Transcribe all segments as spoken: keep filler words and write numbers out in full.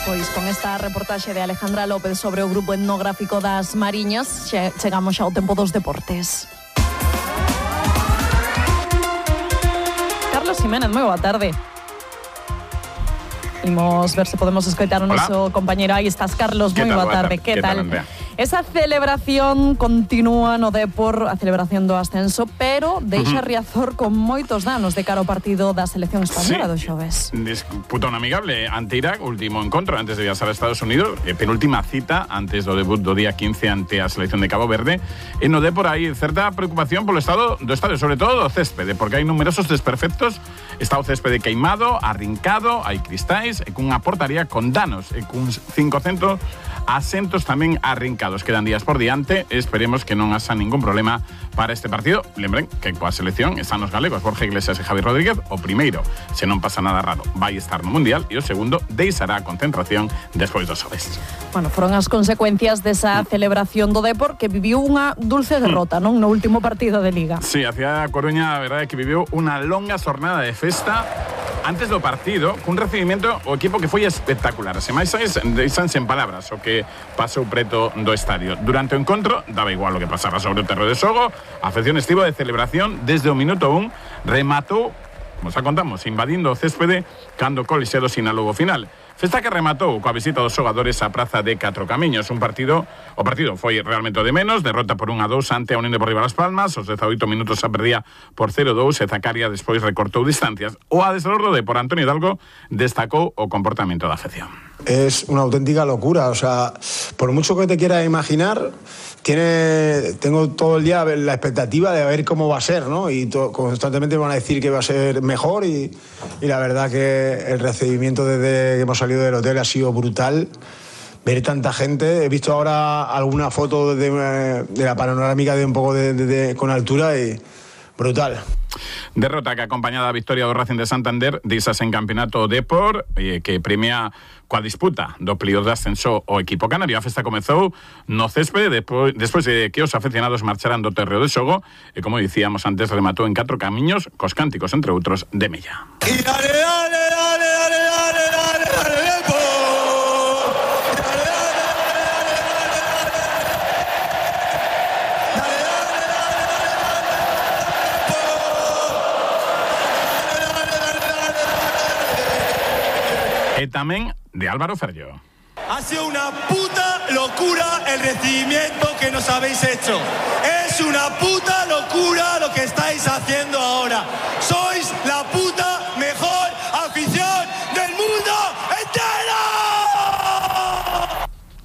Pois con esta reportaxe de Alejandra López sobre o grupo etnográfico das Mariñas, che, chegamos xa ao tempo dos deportes. Carlos Jiménez, moi boa tarde. Imos ver se podemos escoitar o noso compañeiro. Aí estás, Carlos, moi boa tarde. Que tal? Esa celebración continúa no Depor, a celebración do ascenso, pero deixa uh-huh. Riazor con moitos danos de cara ao partido da selección española sí. do xoves. Disputa un amigable ante Irak, último encontro antes de viaxar a Estados Unidos, e penúltima cita antes do debut do día quince ante a selección de Cabo Verde. E no Depor hai certa preocupación polo estado do estadio, sobre todo do céspede, porque hai numerosos desperfectos. Está o céspede queimado, arrincado, hai cristais, e cunha portaría con danos, e cun cincocentos asentos tamén arrincados. Quedan días por diante, esperemos que non haxa ningún problema para este partido. Lembren que coa selección están os galegos Borja Iglesias e Javi Rodríguez. O primeiro, se non pasa nada raro, vai estar no Mundial, e o segundo deixará a concentración despois dos xoves. Bueno, foron as consecuencias desa celebración do Depor, que viviu unha dulce derrota, non? No último partido de Liga. Sí, a cidade da Coruña, a verdade é que viviu unha longa xornada de festa antes do partido, cun recibimento o equipo que foi espectacular. Se máis deixanse en palabras o que pasou preto do estadio. Durante o encontro, daba igual o que pasaba sobre o terreo de xogo, a afección estivo de celebración desde o minuto un, rematou, como xa contamos, invadindo o céspede cando o Colixedo sinalou o final. Festa que rematou coa visita dos xogadores á praza de Catro Camiños. Un partido, o partido foi realmente o de menos, derrota por un a dous ante a Unión Deportiva Las Palmas, os dezaoito minutos a perdía por cero a dous e Zacaria despois recortou distancias. O adestrador do Depor, Antonio Hidalgo, destacou o comportamento da afección. Es una auténtica locura, o sea, por mucho que te quieras imaginar, tiene, tengo todo el día la expectativa de ver cómo va a ser, ¿no? Y to, constantemente me van a decir que va a ser mejor y, y la verdad que el recibimiento desde que hemos salido del hotel ha sido brutal. Ver tanta gente, he visto ahora alguna foto de, de la panorámica de un poco de, de, de, con altura y brutal. Derrota que acompañada a victoria do Racing de Santander deixas en campeonato Depor, eh, que premia coa disputa do período de ascenso o equipo canario. A festa comezou no céspede despois, despois de que os aficionados marcharan do terreo de xogo e, como dicíamos antes, rematou en Catro Camiños cos cánticos, entre outros, de Mella. Y dale, dale, dale, dale, dale, dale, dale, Depor. E tamén de Álvaro Ferllo. Ha sido una puta locura el recibimiento que nos habéis hecho. Es una puta locura lo que estáis haciendo ahora. Sois la puta mejor afición del mundo entero.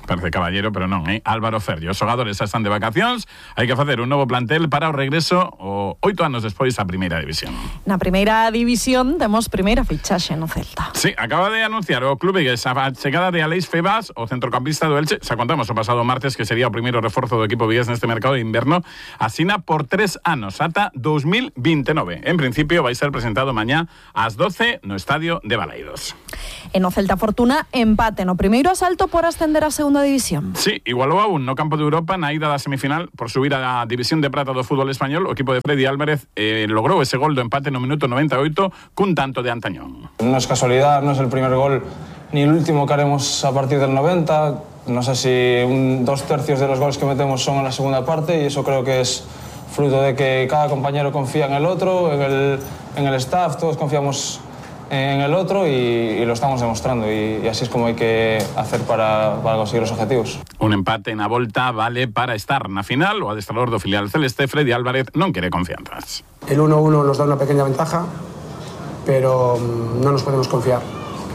Parece caballero, pero non, eh? Álvaro Ferllo. Os xogadores xa están de vacacións, hai que facer un novo plantel para o regreso o oito anos despois a primeira división. Na primeira división temos primeira fichaxe no Celta. Sí, acaba de anunciar o clube que a chegada de Aleix Febas, o centrocampista do Elche, xa contamos o pasado martes que sería o primeiro reforzo do equipo vigués neste mercado de inverno, asina por tres anos, ata dos mil veintinueve. En principio vai ser presentado mañá ás doce no estadio de Balaidos. E no Celta Fortuna, empate no primeiro asalto por ascender a segunda división. Sí, igualou aún no campo de Europa na ida da semifinal por subir a división de prata do fútbol español. O equipo de Freddy Álvarez eh, logrou ese gol do empate no minuto noventa e oito cun tanto de Antañón. No es casualidad, no es el primer gol ni el último que haremos a partir del noventa. No sé si un, dos tercios de los goles que metemos son en la segunda parte y eso creo que es fruto de que cada compañero confía en el otro, en el, en el staff, todos confiamos en el otro y, y lo estamos demostrando y, y así es como hay que hacer para, para conseguir los objetivos. Un empate na volta vale para estar na final. O adestrador do filial celeste, Freddy Álvarez, non quere confianzas. El uno uno nos da una pequeña ventaja, pero no nos podemos confiar.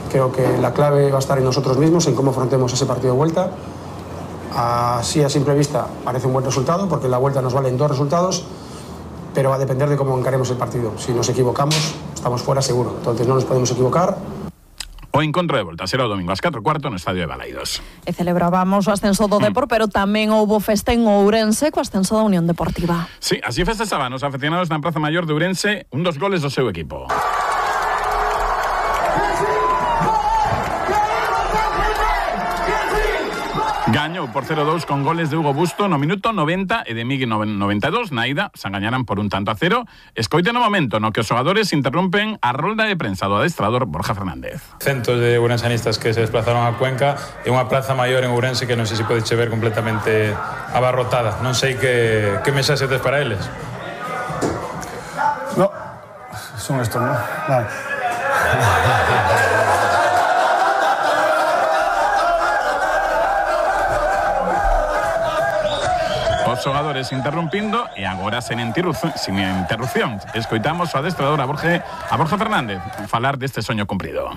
Creo que la clave va a estar en nosotros mismos, en cómo afrontemos ese partido de vuelta. Así a simple vista parece un buen resultado, porque en la vuelta nos valen dos resultados, pero va a depender de cómo encaremos el partido. Si nos equivocamos, estamos fuera seguro. Entonces no nos podemos equivocar. O encontro de volta será o domingo ás catro e cuarto no estadio de Balaidos. E celebrábamos o ascenso do Depor, mm. pero tamén houbo festa en Ourense co ascenso da Unión Deportiva. Sí, así festejaban os aficionados na Praza Maior de Ourense un dos goles do seu equipo. Gañou por cero dos con goles de Hugo Busto no minuto noventa e de Miguel no noventa e dos. Na ida se engañaran por un tanto a cero. Escoite no momento no que os xogadores interrompen a rolda de prensa do adestrador Borja Fernández. Centos de ourensanistas que se desplazaron a Cuenca e unha plaza maior en Ourense que non sei se pode ver completamente abarrotada. Non sei que, que mensaxe tes para eles. No, son estos, ¿no? Vale. Os xogadores interrumpindo e agora sen interrupción, sin interrupción. Escoitamos o adestrador a Borja, a Borja Fernández falar deste soño cumprido.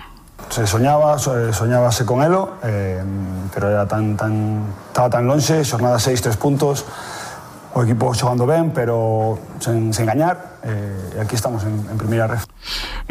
Se soñaba, soñábase con elo, eh, pero era tan, tan, estaba tan lonxe, xornada seis, tres puntos, o equipo xogando ben, pero sen, sen gañar, eh, e aquí estamos en, en primeira ref.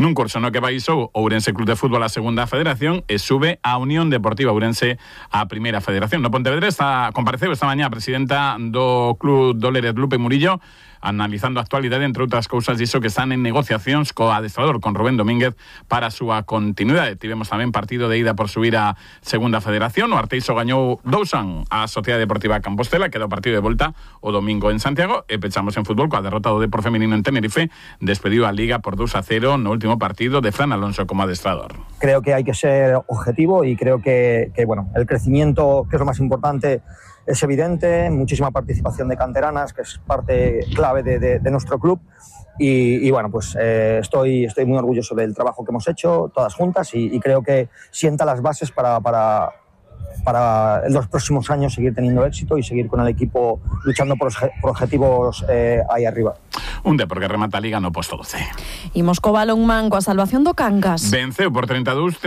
Nun curso no que baixou Ourense Club de Fútbol a segunda federación e sube a Unión Deportiva Ourense a primeira federación. No Pontevedra está, compareceu esta mañá a presidenta do Club Dóleres Lupe Murillo, analizando a actualidade, entre outras cousas, diso que están en negociacións co adestrador, con Rubén Domínguez, para a súa continuidade. Tivemos tamén partido de ida por subir a segunda federación. O Arteixo gañou dous a un a Sociedade Deportiva Compostela, queda o partido de volta o domingo en Santiago, e pechamos en fútbol coa derrota do Depor feminino en Tenerife, despediu a Liga por dos a cero no último partido de Fran Alonso como adestrador. Creo que hay que ser objetivo y creo que, que bueno, el crecimiento, que es lo más importante, es evidente, muchísima participación de canteranas, que es parte clave de, de, de nuestro club. Y, y bueno, pues eh, estoy, estoy muy orgulloso del trabajo que hemos hecho, todas juntas, y, y creo que sienta las bases para, para, para en los próximos años seguir teniendo éxito y seguir con el equipo luchando por, por objetivos eh, ahí arriba. Un Depor que remata a Liga no posto doce. Imos co balonmán coa salvación do Cangas. Venceu por treinta e dous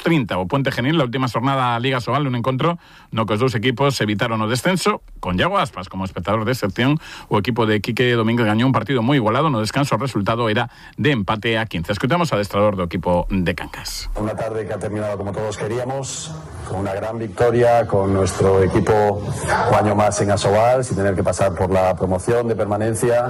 trinta o Puente Genil la última jornada Liga Sobal, un encontro no que os dous equipos evitaron o descenso. Con Iago Aspas como espectador de excepción, o equipo de Quique Domínguez gañou un partido moi igualado. No descanso o resultado era de empate a quince. Escuchamos al adestrador do equipo de Cangas. Una tarde que ha terminado como todos queríamos, con una gran victoria, con nuestro equipo un año más en Asobal, sin tener que pasar por la promoción de permanencia.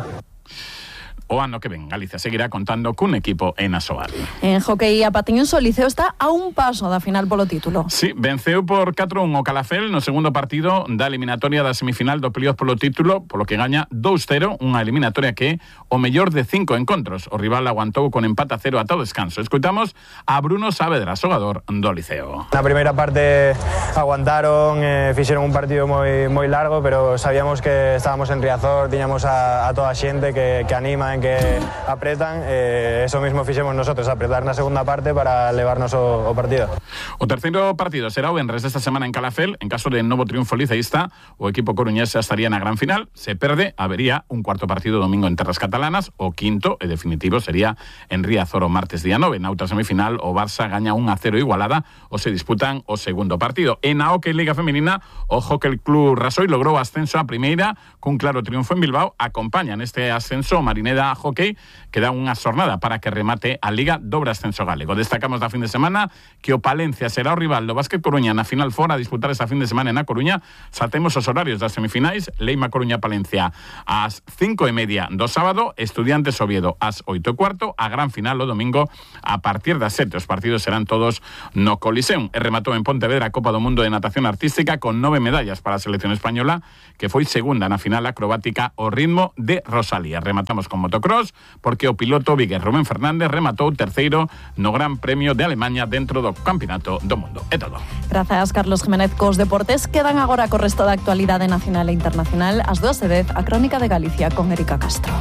O ano que ven, Galicia seguirá contando cun equipo en Asobal. En hockey a patiños o Liceo está a un paso da final polo título. Sí, venceu por catro a un o Calafel no segundo partido da eliminatoria da semifinal do playoff polo título, polo que gaña dous cero, unha eliminatoria que é o mellor de cinco encontros. O rival aguantou con empate a cero ata o descanso. Escoitamos a Bruno Saavedra, xogador do Liceo. Na primeira parte aguantaron, eh, fixeron un partido moi moi largo, pero sabíamos que estábamos en Riazor, tiñamos a, a toda a xente que, que anima, que apretan, eh, eso mismo fixemos nosotros, apretar na segunda parte para levarnos o, o partido. O terceiro partido será o venres desta semana en Calafel. En caso de novo triunfo liceísta, o equipo coruñés estaría na gran final. Se perde, habería un cuarto partido domingo en terras catalanas. O quinto e definitivo sería en Riazor o martes día nove. Na outra semifinal, o Barça gaña un a cero igualada ou se disputan o segundo partido. En a Hockey Liga Femenina, o Hockey Club Rasoy logrou ascenso a primeira cun claro triunfo en Bilbao. Acompañan este ascenso Marineda Hockey, que dá unha xornada para que remate a Liga dobre ascenso galego. Destacamos da fin de semana que o Palencia será o rival do Básquet Coruña na final fora a disputar esta fin de semana na Coruña. Saltemos os horarios das semifinais. Leima Coruña-Palencia ás cinco e media do sábado, Estudiantes Oviedo ás oito e cuarto, a gran final o domingo a partir das sete. Os partidos serán todos no Coliseum. E rematou en Pontevedra a Copa do Mundo de Natación Artística con nove medallas para a selección española, que foi segunda na final acrobática ao ritmo de Rosalía. Rematamos con motocross, porque o piloto vigués Rubén Fernández rematou terceiro no Gran Premio de Alemanha dentro do Campeonato do Mundo. É todo. Grazas, Carlos Jiménez. Cos deportes quedan agora co resto da actualidade nacional e internacional. Ás dúas e dez, a Crónica de Galicia con Erika Castro.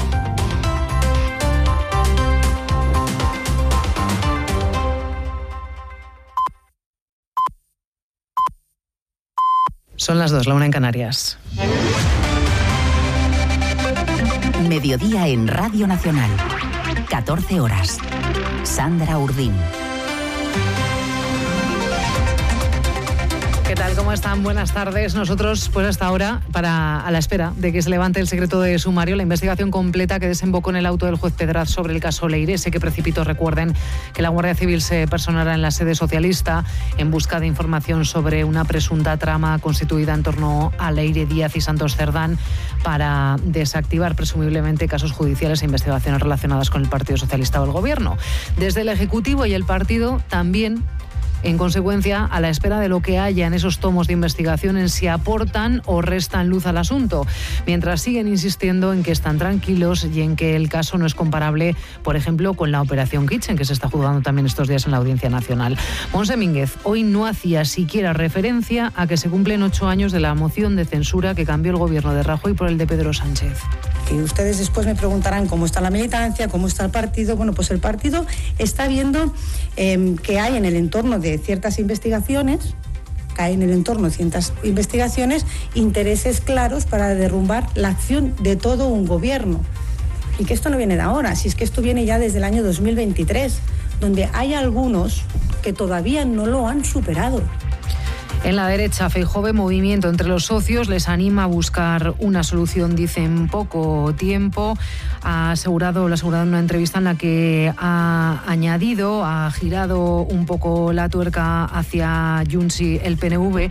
Son las dos, la una en Canarias. Mediodía en Radio Nacional. catorce horas. Sandra Urdín. ¿Qué tal? ¿Cómo están? Buenas tardes. Nosotros, pues hasta ahora, para a la espera de que se levante el secreto de sumario, la investigación completa que desembocó en el auto del juez Pedraz sobre el caso Leire, ese que precipitó, recuerden, que la Guardia Civil se personara en la sede socialista en busca de información sobre una presunta trama constituida en torno a Leire Díaz y Santos Cerdán para desactivar presumiblemente casos judiciales e investigaciones relacionadas con el Partido Socialista o el Gobierno. Desde el Ejecutivo y el partido también En consecuencia, a la espera de lo que haya en esos tomos de investigación en si aportan o restan luz al asunto, mientras siguen insistiendo en que están tranquilos y en que el caso no es comparable, por ejemplo, con la Operación Kitchen, que se está juzgando también estos días en la Audiencia Nacional. Monse Mínguez hoy no hacía siquiera referencia a que se cumplen ocho años de la moción de censura que cambió el gobierno de Rajoy por el de Pedro Sánchez. Y ustedes después me preguntarán cómo está la militancia, cómo está el partido. Bueno, pues el partido está viendo eh, que hay en el entorno de ciertas investigaciones, que hay en el entorno de ciertas investigaciones, intereses claros para derrumbar la acción de todo un gobierno. Y que esto no viene de ahora, si es que esto viene ya desde el año dos mil veintitrés, donde hay algunos que todavía no lo han superado. En la derecha, Feijóo ve movimiento entre los socios, les anima a buscar una solución, dice, en poco tiempo. Ha asegurado, lo ha asegurado en una entrevista en la que ha añadido, ha girado un poco la tuerca hacia Junts y el P N V.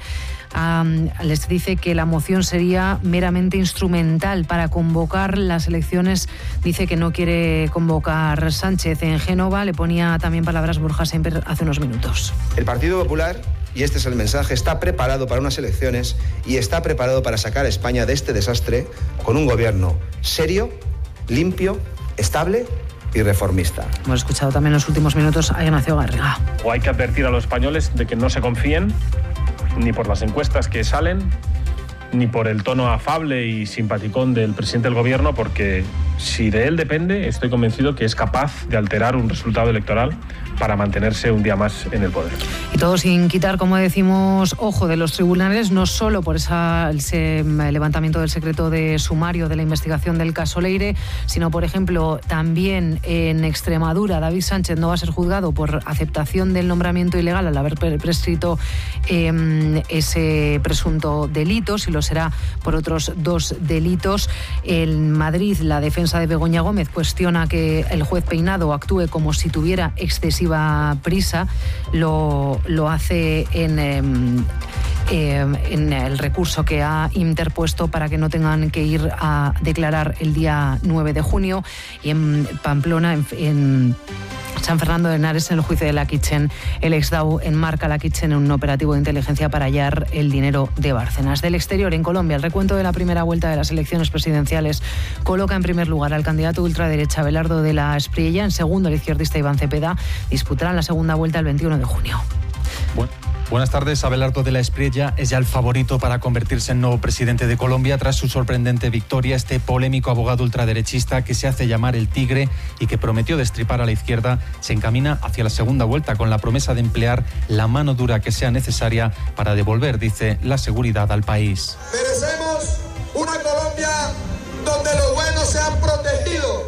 Um, les dice que la moción sería meramente instrumental para convocar las elecciones. Dice que no quiere convocar Sánchez en Génova. Le ponía también palabras Borja Semper hace unos minutos. El Partido Popular, y este es el mensaje, está preparado para unas elecciones y está preparado para sacar a España de este desastre con un gobierno serio, limpio, estable y reformista. Hemos escuchado también en los últimos minutos a Ignacio Garriga. O hay que advertir a los españoles de que no se confíen ni por las encuestas que salen, ni por el tono afable y simpaticón del presidente del gobierno, porque si de él depende, estoy convencido que es capaz de alterar un resultado electoral para mantenerse un día más en el poder. Y todo sin quitar, como decimos, ojo de los tribunales, no solo por esa, ese levantamiento del secreto de sumario de la investigación del caso Leire, sino, por ejemplo, también en Extremadura, David Sánchez no va a ser juzgado por aceptación del nombramiento ilegal al haber prescrito eh, ese presunto delito, si lo será por otros dos delitos. En Madrid, la defensa de Begoña Gómez cuestiona que el juez Peinado actúe como si tuviera excesiva prisa. Lo, lo hace en, eh, eh, en el recurso que ha interpuesto para que no tengan que ir a declarar el día nueve de junio. Y en Pamplona, en, en San Fernando de Henares, en el juicio de la Kitchen, el ex-D A O enmarca la Kitchen en un operativo de inteligencia para hallar el dinero de Bárcenas. Del exterior, en Colombia, el recuento de la primera vuelta de las elecciones presidenciales coloca en primer lugar al candidato ultraderecha Abelardo de la Espriella, en segundo el izquierdista Iván Cepeda. Disputarán la segunda vuelta el veintiuno de junio. Bueno. Buenas tardes. Abelardo de la Espriella es ya el favorito para convertirse en nuevo presidente de Colombia tras su sorprendente victoria. Este polémico abogado ultraderechista, que se hace llamar el Tigre y que prometió destripar a la izquierda, se encamina hacia la segunda vuelta con la promesa de emplear la mano dura que sea necesaria para devolver, dice, la seguridad al país. Merecemos una Colombia donde los buenos sean protegidos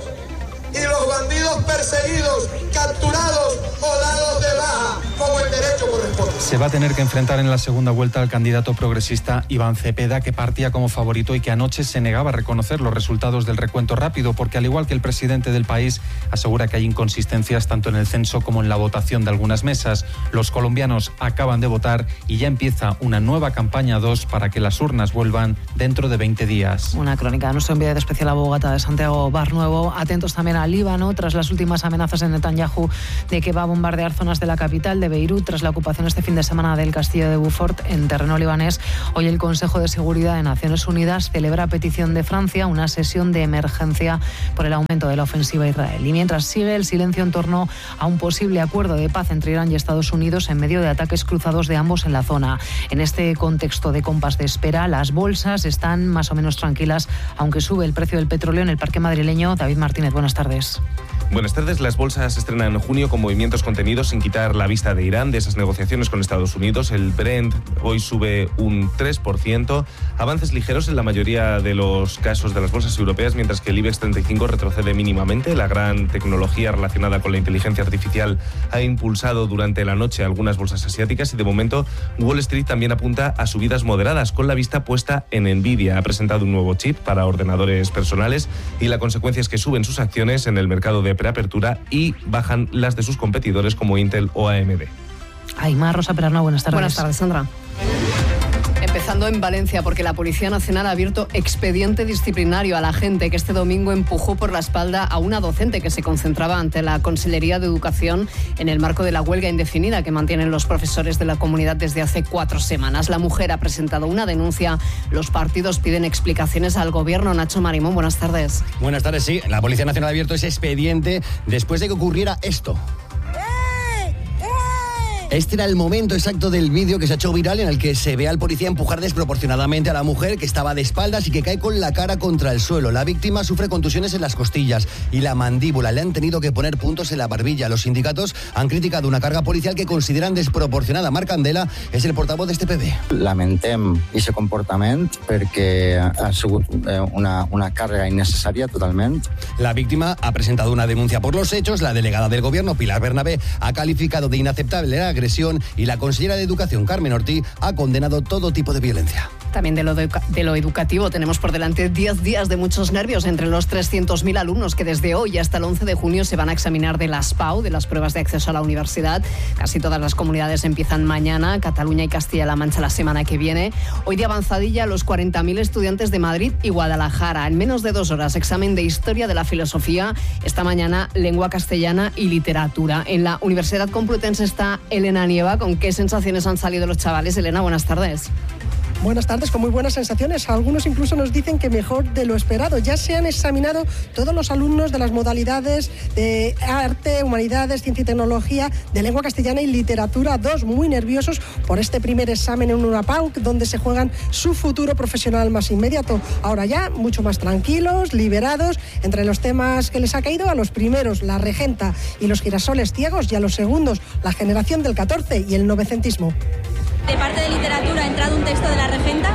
y los bandidos perseguidos, capturados o dados de baja, como el derecho corresponde. Se va a tener que enfrentar en la segunda vuelta al candidato progresista Iván Cepeda, que partía como favorito y que anoche se negaba a reconocer los resultados del recuento rápido, porque al igual que el presidente del país, asegura que hay inconsistencias tanto en el censo como en la votación de algunas mesas. Los colombianos acaban de votar y ya empieza una nueva campaña dos para que las urnas vuelvan dentro de veinte días. Una crónica de nuestro enviado especial a Bogotá, de Santiago Barnuevo. Atentos también a Líbano, tras las últimas amenazas de Netanyahu de que va a bombardear zonas de la capital de Beirut, tras la ocupación este fin de semana del castillo de Beaufort en terreno libanés. Hoy el Consejo de Seguridad de Naciones Unidas celebra a petición de Francia una sesión de emergencia por el aumento de la ofensiva a Israel. Y mientras sigue el silencio en torno a un posible acuerdo de paz entre Irán y Estados Unidos en medio de ataques cruzados de ambos en la zona. En este contexto de compás de espera, las bolsas están más o menos tranquilas, aunque sube el precio del petróleo en el parque madrileño. David Martínez, buenas tardes. Buenas tardes. Las bolsas estrenan en junio con movimientos contenidos sin quitar la vista de Irán, de esas negociaciones con Estados Unidos. El Brent hoy sube un tres por ciento. Avances ligeros en la mayoría de los casos de las bolsas europeas, mientras que el IBEX treinta y cinco retrocede mínimamente. La gran tecnología relacionada con la inteligencia artificial ha impulsado durante la noche algunas bolsas asiáticas y de momento Wall Street también apunta a subidas moderadas, con la vista puesta en Nvidia. Ha presentado un nuevo chip para ordenadores personales y la consecuencia es que suben sus acciones en el mercado de preapertura y bajan las de sus competidores como Intel o A M D. Aymar Rosa Perarna, buenas tardes. Buenas tardes, Sandra. Empezando en Valencia, porque la Policía Nacional ha abierto expediente disciplinario a la gente que este domingo empujó por la espalda a una docente que se concentraba ante la Consellería de Educación en el marco de la huelga indefinida que mantienen los profesores de la comunidad desde hace cuatro semanas. La mujer ha presentado una denuncia. Los partidos piden explicaciones al gobierno. Nacho Marimón, buenas tardes. Buenas tardes, sí. La Policía Nacional ha abierto ese expediente después de que ocurriera esto. Este era el momento exacto del vídeo que se ha hecho viral en el que se ve al policía empujar desproporcionadamente a la mujer que estaba de espaldas y que cae con la cara contra el suelo. La víctima sufre contusiones en las costillas y la mandíbula. Le han tenido que poner puntos en la barbilla. Los sindicatos han criticado una carga policial que consideran desproporcionada. Marc Candela és el portavoz d'este P B. Lamentem aquest comportament perquè ha sigut una, una carga innecessària totalment. La víctima ha presentado una denuncia por los hechos. La delegada del gobierno, Pilar Bernabé, ha calificado de inaceptable la agresión y la consellera de Educación, Carmen Ortí, ha condenado todo tipo de violencia. También de lo, de, de lo educativo tenemos por delante diez días de muchos nervios entre los trescientos mil alumnos que desde hoy hasta el once de junio se van a examinar de las P A U, de las pruebas de acceso a la universidad. Casi todas las comunidades empiezan mañana, Cataluña y Castilla-La Mancha la semana que viene. Hoy de avanzadilla los cuarenta mil estudiantes de Madrid y Guadalajara. En menos de dos horas, examen de Historia de la Filosofía. Esta mañana, Lengua Castellana y Literatura. En la Universidad Complutense está Elena Nieva. ¿Con qué sensaciones han salido los chavales? Elena, buenas tardes. Buenas tardes, con muy buenas sensaciones. Algunos incluso nos dicen que mejor de lo esperado. Ya se han examinado todos los alumnos de las modalidades de arte, humanidades, ciencia y tecnología, de lengua castellana y literatura dos, muy nerviosos por este primer examen en una P A U, donde se juegan su futuro profesional más inmediato. Ahora ya, mucho más tranquilos, liberados. Entre los temas que les ha caído, a los primeros, la regenta y los girasoles ciegos, y a los segundos, la generación del catorce y el novecentismo. De parte de literatura ha entrado un texto de la regenta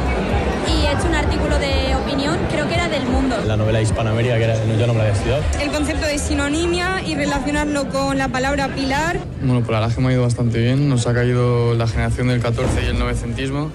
y he hecho un artículo de opinión, creo que era del Mundo. La novela Hispanoamérica, que era, yo no me la había estudiado. El concepto de sinonimia y relacionarlo con la palabra pilar. Bueno, pues la verdad es que me ha ido bastante bien. Nos ha caído la generación del catorce y el novecentismo.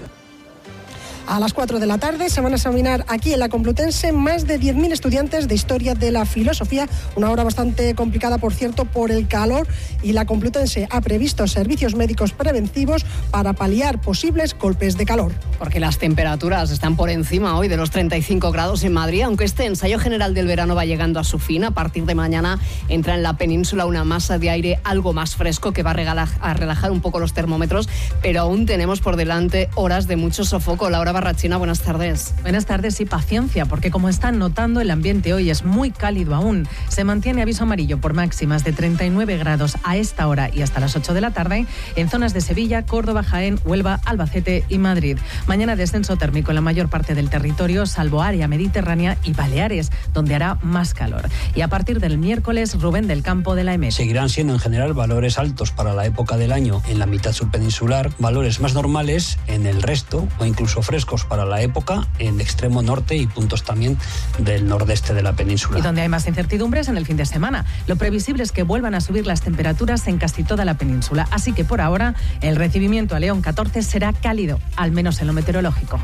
A las cuatro de la tarde se van a examinar aquí en la Complutense más de diez mil estudiantes de Historia de la Filosofía, una hora bastante complicada, por cierto, por el calor, y la Complutense ha previsto servicios médicos preventivos para paliar posibles golpes de calor. Porque las temperaturas están por encima hoy de los treinta y cinco grados en Madrid, aunque este ensayo general del verano va llegando a su fin. A partir de mañana entra en la península una masa de aire algo más fresco que va a, regalar, a relajar un poco los termómetros, pero aún tenemos por delante horas de mucho sofoco. Laura Barrachina, buenas tardes. Buenas tardes y paciencia, porque como están notando, el ambiente hoy es muy cálido aún. Se mantiene aviso amarillo por máximas de treinta y nueve grados a esta hora y hasta las ocho de la tarde en zonas de Sevilla, Córdoba, Jaén, Huelva, Albacete y Madrid. Mañana descenso térmico en la mayor parte del territorio, salvo área mediterránea y Baleares, donde hará más calor. Y a partir del miércoles, Rubén del Campo de la E M E T. Seguirán siendo en general valores altos para la época del año en la mitad surpeninsular, valores más normales en el resto o incluso frescos para la época en el extremo norte y puntos también del nordeste de la península. Y donde hay más incertidumbres en el fin de semana. Lo previsible es que vuelvan a subir las temperaturas en casi toda la península. Así que por ahora el recibimiento a León catorce será cálido, al menos en lo meteorológico.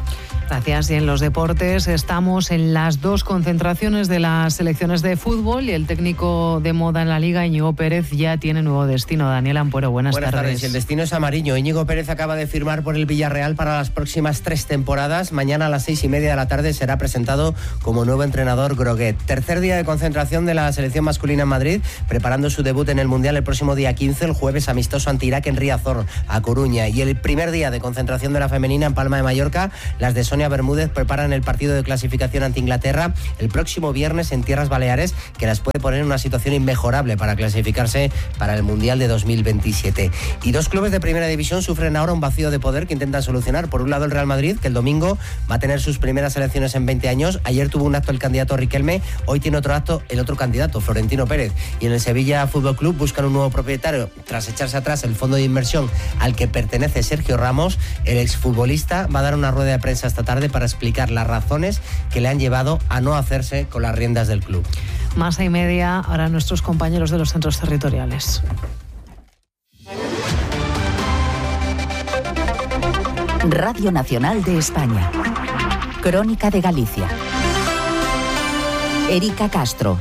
Gracias. Y en los deportes estamos en las dos concentraciones de las selecciones de fútbol y el técnico de moda en la Liga, Íñigo Pérez, ya tiene nuevo destino. Daniel Ampuero, buenas, buenas tardes. tardes. El destino es amarillo. Íñigo Pérez acaba de firmar por el Villarreal para las próximas tres temporadas. Mañana a las seis y media de la tarde será presentado como nuevo entrenador Groguet. Tercer día de concentración de la selección masculina en Madrid, preparando su debut en el Mundial el próximo día quince, el jueves amistoso ante Irak en Riazor, a Coruña. Y el primer día de concentración de la femenina en Palma de Mallorca, las de Sonia Bermúdez preparan el partido de clasificación ante Inglaterra el próximo viernes en Tierras Baleares, que las puede poner en una situación inmejorable para clasificarse para el Mundial de dos mil veintisiete. Y dos clubes de primera división sufren ahora un vacío de poder que intentan solucionar. Por un lado, el Real Madrid, que el domingo va a tener sus primeras elecciones en veinte años. Ayer tuvo un acto el candidato Riquelme, hoy tiene otro acto el otro candidato, Florentino Pérez. Y en el Sevilla Fútbol Club buscan un nuevo propietario tras echarse atrás el fondo de inversión al que pertenece Sergio Ramos. El exfutbolista va a dar una rueda de prensa esta tarde para explicar las razones que le han llevado a no hacerse con las riendas del club. Masa y media, ahora nuestros compañeros de los centros territoriales. Radio Nacional de España. Crónica de Galicia. Erika Castro.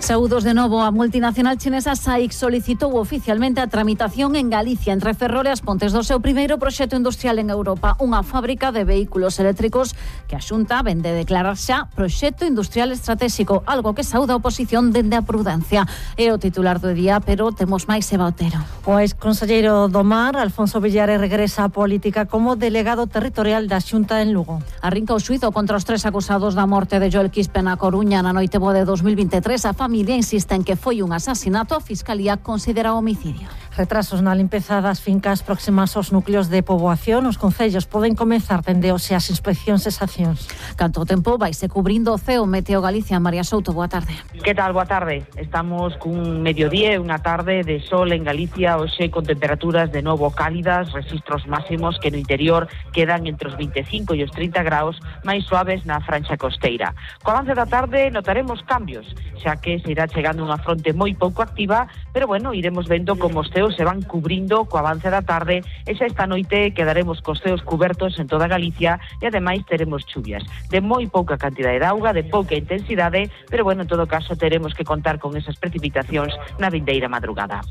Saúdos de novo, a multinacional chinesa S A I C solicitou oficialmente a tramitación en Galicia entre Ferrol e As Pontes do seu primeiro proxecto industrial en Europa, unha fábrica de vehículos eléctricos que a Xunta vende declarar xa proxecto industrial estratégico, algo que saúda a oposición dende a prudencia. É o titular do día, pero temos máis Eva Otero. O ex-conselleiro do Mar, Alfonso Villares, regresa á política como delegado territorial da Xunta en Lugo. Arrinca o xuízo contra os tres acusados da morte de Joel Quispe na Coruña na noite boa de dos mil veintitrés. A familia insiste en que foi un asasinato, a Fiscalía considera homicidio. Retrasos na limpeza das fincas próximas aos núcleos de poboación. Os concellos poden comezar dende hoxe as inspeccións e sancións. Canto tempo vaise cubrindo o ceo. Meteo Galicia, María Souto, boa tarde. Que tal, boa tarde? Estamos cun mediodía e unha tarde de sol en Galicia, hoxe con temperaturas de novo cálidas, registros máximos que no interior quedan entre os veinticinco e os trinta graus, máis suaves na franxa costeira. Co avance da tarde notaremos cambios, xa que se irá chegando unha fronte moi pouco activa, pero bueno, iremos vendo como os ceos se van cubrindo co avance da tarde e xa esta noite quedaremos cos ceos cubertos en toda Galicia e ademais teremos chuvias de moi pouca cantidade de auga, de pouca intensidade, pero bueno, en todo caso teremos que contar con esas precipitacións na vindeira madrugada.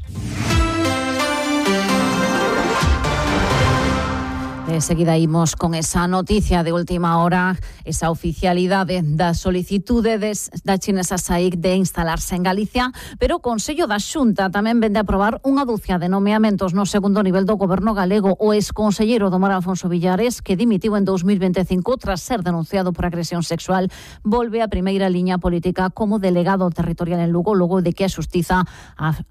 De seguida imos con esa noticia de última hora, esa oficialidade da solicitude des, da chinesa S A I C de instalarse en Galicia, pero o Consello da Xunta tamén vende a aprobar unha dúcia de nomeamentos no segundo nivel do goberno galego. O ex-conselleiro do Mar, Alfonso Villares, que dimitiu en dos mil veinticinco tras ser denunciado por agresión sexual, volve a primeira liña política como delegado territorial en Lugo, logo de que a Xustiza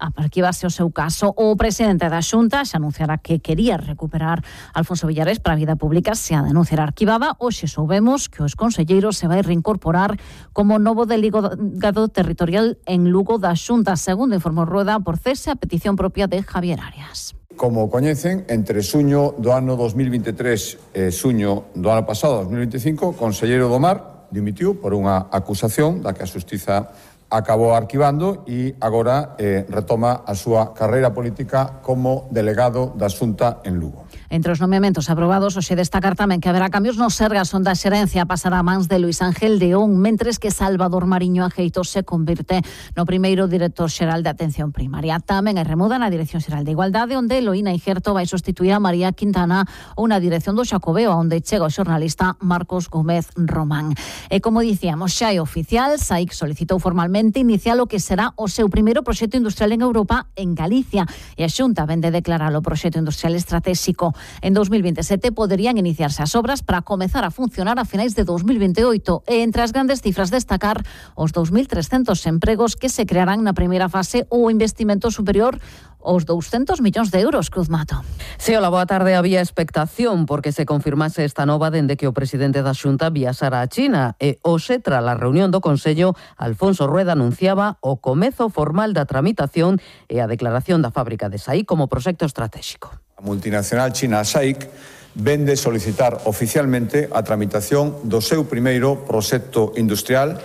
arquivase o seu caso. O presidente da Xunta xa anunciara que quería recuperar Alfonso Villares para a vida pública se a denuncia arquivada. Hoxe soubemos que o exconselleiro se vai reincorporar como novo delegado territorial en Lugo da Xunta, segundo informou Rueda, por cese a petición propia de Javier Arias. Como coñecen, entre suño do ano dos mil veintitrés e suño do ano pasado, dos mil veinticinco, o conselleiro do Mar dimitiu por unha acusación da que a Xustiza acabou arquivando e agora eh, retoma a súa carreira política como delegado da Xunta en Lugo. Entre os nomeamentos aprobados, hoxe destacar tamén que haberá cambios no Sergas, onde a xerencia pasará a mans de Luis Ángel Deón, mentres que Salvador Mariño Ajeito se convirte no primeiro director xeral de Atención Primaria. Tamén hai remuda na Dirección Xeral de Igualdade, onde Eloína Igerto vai sustituir a María Quintana, ou na Dirección do Xacobeo, onde chega o xornalista Marcos Gómez Román. E como dicíamos, xa é oficial, S A I C solicitou formalmente iniciar o que será o seu primeiro proxecto industrial en Europa, en Galicia, e a Xunta vende declarar o proxecto industrial estratégico. En dos mil veintisiete poderían iniciarse as obras para comezar a funcionar a finais de dos mil veintioito e entre as grandes cifras destacar os dos mil trescentos empregos que se crearán na primeira fase ou investimento superior aos douscentos millóns de euros, Cruz Mato. Sí, hola, boa tarde. Había expectación porque se confirmase esta nova dende que o presidente da Xunta viaxara a China e hoxe, tras a reunión do Consello, Alfonso Rueda anunciaba o comezo formal da tramitación e a declaración da fábrica de S A I como proxecto estratégico. A multinacional china S A I C vende solicitar oficialmente a tramitación do seu primeiro proxecto industrial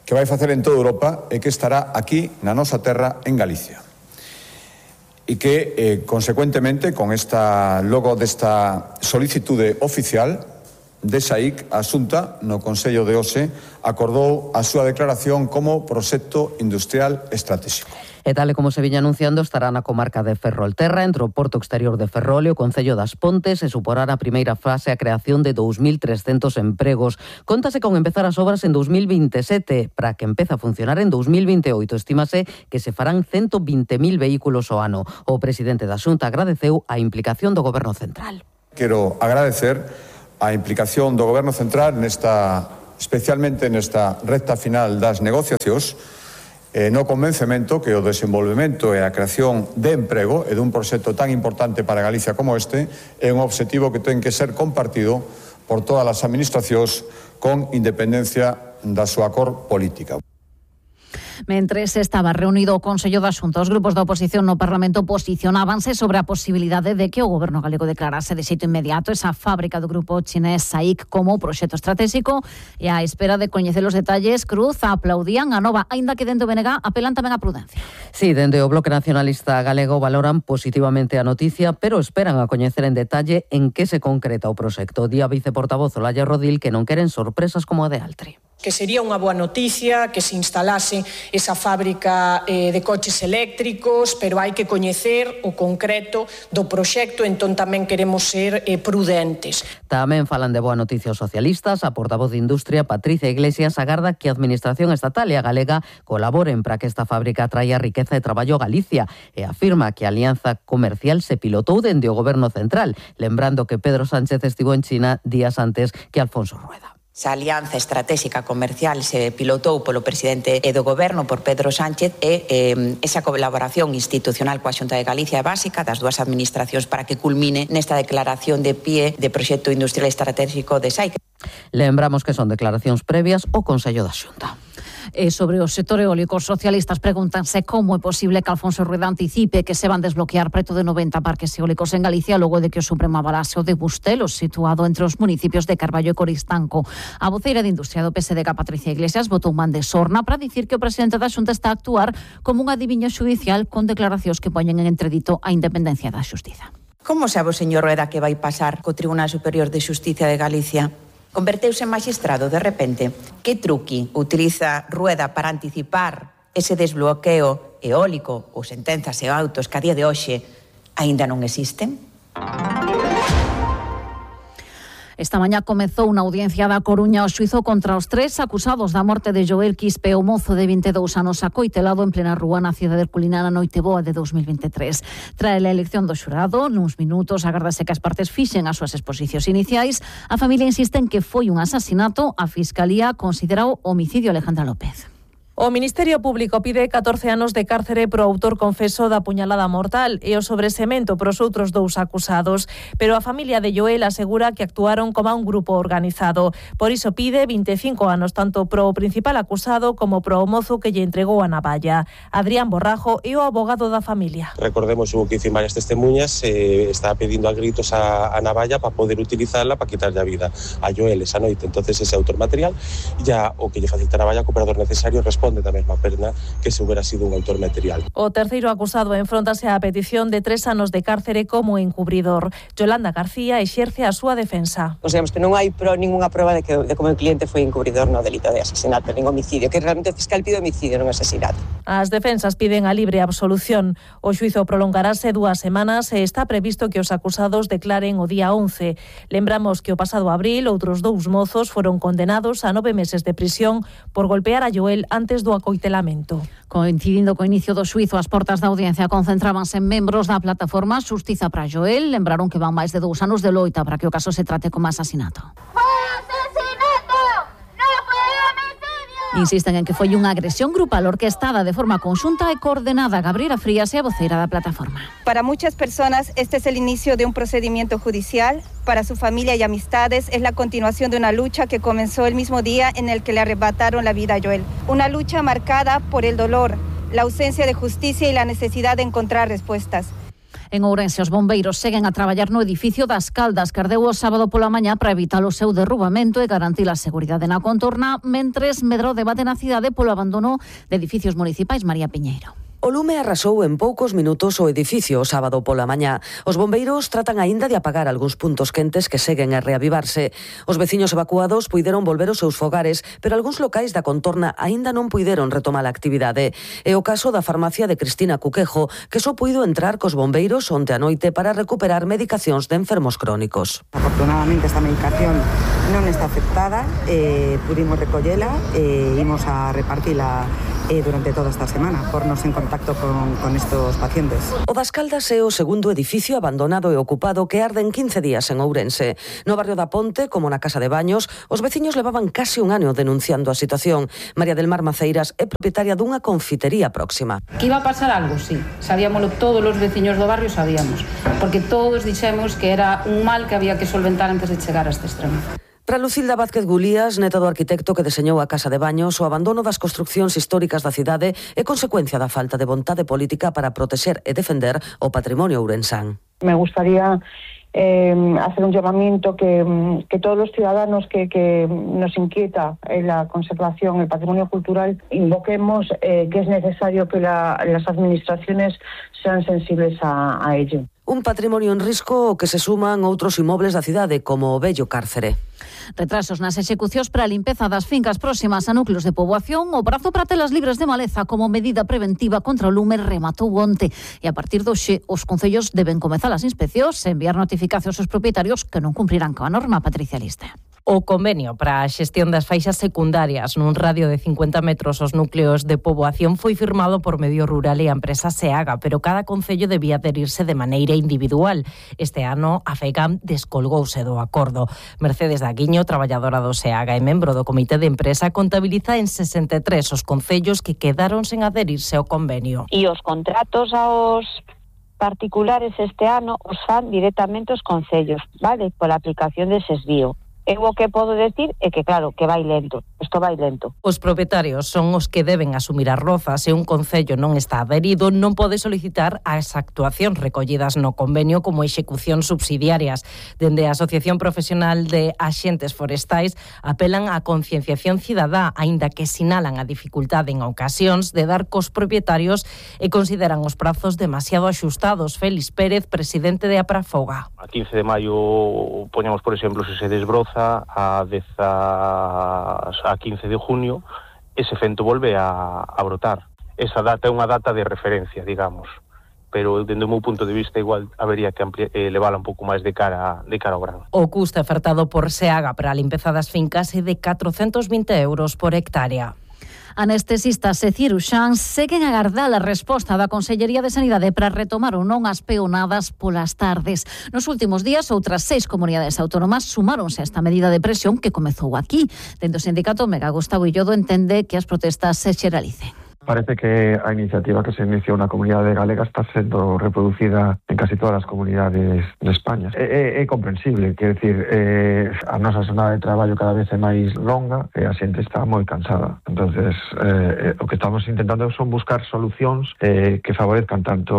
que vai facer en toda Europa e que estará aquí na nosa terra en Galicia. E que, eh, consecuentemente, con esta logo desta solicitude oficial de S A I C, a Xunta, no Consello de hoxe, acordou a súa declaración como proxecto industrial estratégico. E tal e como se viña anunciando, estará na comarca de Ferrolterra, entre o Porto Exterior de Ferrol e o Concello das Pontes, e suporá a primeira fase a creación de dous mil trescentos empregos. Contase con empezar as obras en dos mil veintisiete, para que empece a funcionar en dos mil veintioito. Estímase que se farán ciento vinte mil vehículos ao ano. O presidente da Xunta agradeceu a implicación do Goberno Central. Quero agradecer a implicación do Goberno Central nesta, especialmente nesta recta final das negociacións, eh, no convencemento que o desenvolvemento e a creación de emprego e dun proxecto tan importante para Galicia como este é un obxectivo que ten que ser compartido por todas as administracións con independencia da súa cor política. Mentres estaba reunido o Consello da Xunta, os grupos da oposición no Parlamento posicionábanse sobre a posibilidade de que o Goberno galego declarase de xeito inmediato esa fábrica do grupo chinés S A I C como proxecto estratégico, e á espera de coñecer os detalles, Cruz, aplaudían a nova, aínda que dentro do B N G apelan tamén a prudencia. Sí, dende o Bloque Nacionalista Galego valoran positivamente a noticia, pero esperan a coñecer en detalle en que se concreta o proxecto. Di a viceportavoz Olalla Rodil que non queren sorpresas como a de Altri. Que sería unha boa noticia que se instalase esa fábrica eh, de coches eléctricos, pero hai que coñecer o concreto do proxecto, entón tamén queremos ser eh, prudentes. Tamén falan de boa noticia os socialistas. A portavoz de Industria, Patricia Iglesias, agarda que a Administración estatal e a galega colaboren para que esta fábrica traia riqueza e traballo a Galicia e afirma que a alianza comercial se pilotou dende o Goberno central, lembrando que Pedro Sánchez estivo en China días antes que Alfonso Rueda. Esa alianza estratégica comercial se pilotou polo presidente do Goberno, por Pedro Sánchez, e eh, esa colaboración institucional coa Xunta de Galicia é básica das dúas administracións para que culmine nesta declaración de pie de proxecto industrial estratégico de SAIC. Lembramos que son declaracións previas ao Consello da Xunta. E sobre o sector eólico, os socialistas pregúntanse como é posible que Alfonso Rueda anticipe que se van desbloquear preto de noventa parques eólicos en Galicia logo de que o Supremo avalase o de Bustelo, situado entre os municipios de Carballo e Coristanco. A voceira de Industria do P S D, Patricia Iglesias, botou man de sorna para dicir que o presidente da Xunta está a actuar como un adiviño xudicial con declaracións que poñen en entredito a independencia da xustiza. Como sabe o señor Rueda que vai pasar co Tribunal Superior de Xustiza de Galicia? Converteuse en magistrado de repente. Que truqui utiliza Rueda para anticipar ese desbloqueo eólico ou sentenzas e autos que a día de hoxe aínda non existen? Esta mañá comezou unha audiencia da Coruña o xuizo contra os tres acusados da morte de Joel Quispe, o mozo de vinte e dous anos acoitelado en plena rúa na cidade herculina na noite boa de dos mil vinte e tres. Trae a elección do xurado, nuns minutos agardase que as partes fixen as súas exposicións iniciais. A familia insiste en que foi un asasinato, a Fiscalía considerou homicidio. Alejandra López. O Ministerio Público pide catorce anos de cárcere pro autor confeso da puñalada mortal e o sobresemento pros outros dous acusados, pero a familia de Joel asegura que actuaron como un grupo organizado. Por iso pide vinte e cinco anos tanto pro principal acusado como pro mozo que lle entregou a navalla. Adrián Borrajo é o abogado da familia. Recordemos, hubo que varias testemunhas, eh, estaba pedindo a gritos a, a navalla para poder utilizarla para quitarle a vida a Joel esa noite. Entonces ese autor material ya o que lle facilita a navalla, o operador necesario responde da mesma perna que se hubiera sido un autor material. O terceiro acusado enfróntase á petición de tres anos de cárcere como encubridor. Yolanda García exerce a súa defensa. Consideramos que non hai pro, ninguna prova de que de como o cliente foi encubridor no delito de asesinato, nin homicidio, que realmente o fiscal pide homicidio, non asesinato. As defensas piden a libre absolución. O xuizo prolongarase dúas semanas e está previsto que os acusados declaren o día once. Lembramos que o pasado abril outros dous mozos foron condenados a nove meses de prisión por golpear a Joel antes do acoitelamento. Coincidindo co inicio do xuizo, as portas da audiencia concentrábanse en membros da plataforma Xustiza para Joel. Lembraron que van máis de dous anos de loita para que o caso se trate como asasinato. Insisten en que foi unha agresión grupal orquestada de forma conxunta e coordenada. Gabriela Frías é a voceira da plataforma. Para muchas personas este es el inicio de un procedimiento judicial. Para su familia y amistades es la continuación de una lucha que comenzó el mismo día en el que le arrebataron la vida a Joel. Una lucha marcada por el dolor, la ausencia de justicia y la necesidad de encontrar respuestas. En Ourense, os bombeiros seguen a traballar no edificio das Caldas, que ardeu o sábado pola mañá para evitar o seu derrubamento e garantir a seguridade na contorna, mentres medrou o debate na cidade polo abandono de edificios municipais. María Piñeiro. O lume arrasou en poucos minutos o edificio o sábado pola mañá. Os bombeiros tratan aínda de apagar algúns puntos quentes que seguen a reavivarse. Os veciños evacuados puideron volver aos seus fogares, pero algúns locais da contorna aínda non puideron retomar a actividade. É o caso da farmacia de Cristina Cuquejo, que só puido entrar cos bombeiros onte a noite para recuperar medicacións de enfermos crónicos. Afortunadamente esta medicación non está afectada, eh, pudimos recollela e eh, imos a repartila eh, durante toda esta semana, por nos en contacto con, con estos pacientes. O das Caldas é o segundo edificio abandonado e ocupado que arde en quince días en Ourense. No barrio da Ponte, como na Casa de Baños, os veciños levaban case un ano denunciando a situación. María del Mar Maceiras é propietaria dunha confitería próxima. Que iba a pasar algo, sí. Sabíamoslo, todos os veciños do barrio sabíamos, porque todos dixemos que era un mal que había que solventar antes de chegar a este extremo. Para Lucilda Vázquez Gulías, neta do arquitecto que deseñou a Casa de Baños, o abandono das construcións históricas da cidade é consecuencia da falta de vontade política para protexer e defender o patrimonio ourensán. Me gustaría eh, hacer un llamamiento que, que todos los ciudadanos que, que nos inquieta en la conservación, el patrimonio cultural, invoquemos eh, que es necesario que la, las administraciones sean sensibles a, a ello. Un patrimonio en risco que se suman outros inmobles da cidade, como o vello cárcere. Retrasos nas execucións para a limpeza das fincas próximas a núcleos de poboación. O prazo para telas libres de maleza como medida preventiva contra o lume rematou onte. E a partir do xe, os concellos deben comezar as inspeccións e enviar notificacións aos propietarios que non cumprirán coa norma. Patricia Liste. O convenio para a xestión das faixas secundarias nun radio de cincuenta metros aos núcleos de poboación foi firmado por Medio Rural e a empresa SEAGA, pero cada concello debía adherirse de maneira individual. Este ano a FEGAM descolgouse do acordo. Mercedes Daguiño, traballadora do SEAGA e membro do comité de empresa, contabiliza en sesenta e tres os concellos que quedaron sen adherirse ao convenio. E os contratos aos particulares este ano os fan directamente os concellos, vale? Pola aplicación dese desvío. Eu o que podo decir é que, claro, que vai lento. Isto vai lento. Os propietarios son os que deben asumir as rozas. Se un concello non está adherido, non pode solicitar as actuacións recollidas no convenio como execucións subsidiarias. Dende a Asociación Profesional de Axentes Forestais apelan á concienciación cidadá, aínda que sinalan a dificultade en ocasións de dar cos propietarios e consideran os prazos demasiado axustados. Félix Pérez, presidente de Aprafoga. A quince de maio, poñamos por exemplo, se se desbroza a dez a quince de junio, ese fento volve a, a brotar. Esa data é unha data de referencia, digamos, pero dende o meu punto de vista igual habería que ampli- eh, levala un pouco máis de cara de cara ao grano. O custo ofertado por SEAGA para a limpeza das fincas é de catrocentos vinte euros por hectárea. Anestesistas e ciruxáns seguen a agardar a resposta da Consellería de Sanidade para retomar ou non as peonadas polas tardes. Nos últimos días, outras seis comunidades autónomas sumáronse a esta medida de presión que comezou aquí. Dentro do sindicato Mega, Gustavo Illodo entende que as protestas se xeralicen. Parece que a iniciativa que se inició na comunidade galega está sendo reproducida en casi todas as comunidades de España. É, é, é comprensible, quer decir, eh, a nosa jornada de traballo cada vez é máis longa e a xente está moi cansada. Entonces, eh, o que estamos intentando son buscar solucións eh, que favorezcan tanto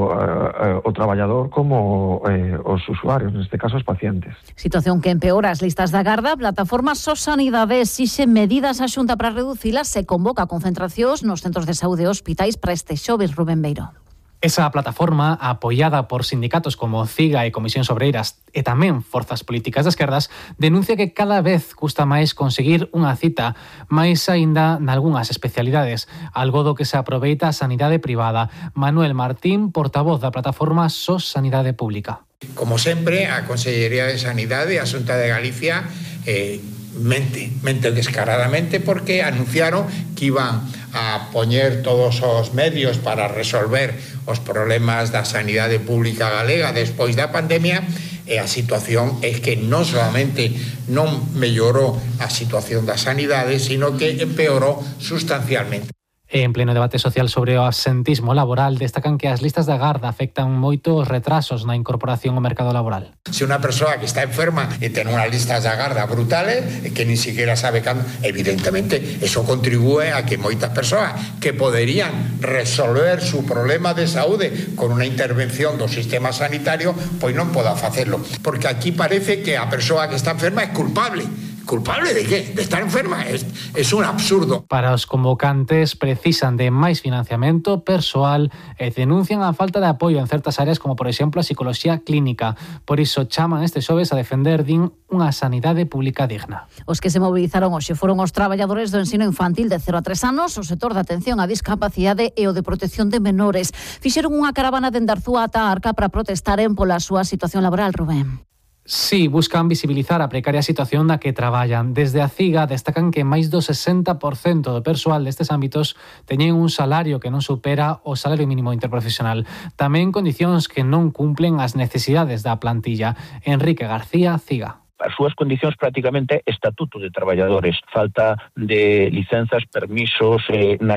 eh, o traballador como eh, os usuarios, neste caso os pacientes. Situación que empeora as listas da garda. A plataforma Sos Sanidade exixe medidas á Xunta para reducilas e convoca concentracións nos centros de saúde e hospitais para este xoves. Rubén Beiro. Esa plataforma, apoiada por sindicatos como CIGA e Comisións Obreiras e tamén forzas políticas de esquerdas, denuncia que cada vez custa máis conseguir unha cita, máis aínda nalgunhas especialidades, algo do que se aproveita a sanidade privada. Manuel Martín, portavoz da plataforma Sos Sanidade Pública. Como sempre, a Consellería de Sanidade e a Xunta de Galicia eh, mente, mente descaradamente porque anunciaron que iban a poñer todos os medios para resolver os problemas da sanidade pública galega despois da pandemia, e a situación é que non solamente non mellorou a situación da sanidade, sino que empeorou sustancialmente. En pleno debate social sobre o absentismo laboral, destacan que as listas da garda afectan moito os retrasos na incorporación ao mercado laboral. Se unha persoa que está enferma e ten unhas listas da garda brutales e que ni siquiera sabe cando, evidentemente, eso contribúe a que moitas persoas que poderían resolver su problema de saúde con unha intervención do sistema sanitario, pois non poda facelo. Porque aquí parece que a persoa que está enferma é culpable. ¿Culpable de qué? ¿De estar enferma? Es, es un absurdo. Para os convocantes precisan de máis financiamento persoal e denuncian a falta de apoio en certas áreas como, por exemplo, a psicología clínica. Por iso chaman este xoves a defender, din, unha sanidade pública digna. Os que se movilizaron hoxe foron os traballadores do ensino infantil de cero a tres anos, o sector de atención á discapacidade e o de protección de menores. Fixeron unha caravana dende Arzúa ata a Arca para protestaren pola súa situación laboral, Rubén. Sí, buscan visibilizar a precaria situación na que traballan. Desde a CIGA destacan que máis do sesenta por cento do persoal destes ámbitos teñen un salario que non supera o salario mínimo interprofesional. Tamén condicións que non cumplen as necesidades da plantilla. Enrique García, CIGA. As súas condicións prácticamente estatuto de traballadores, falta de licenzas, permisos, eh, na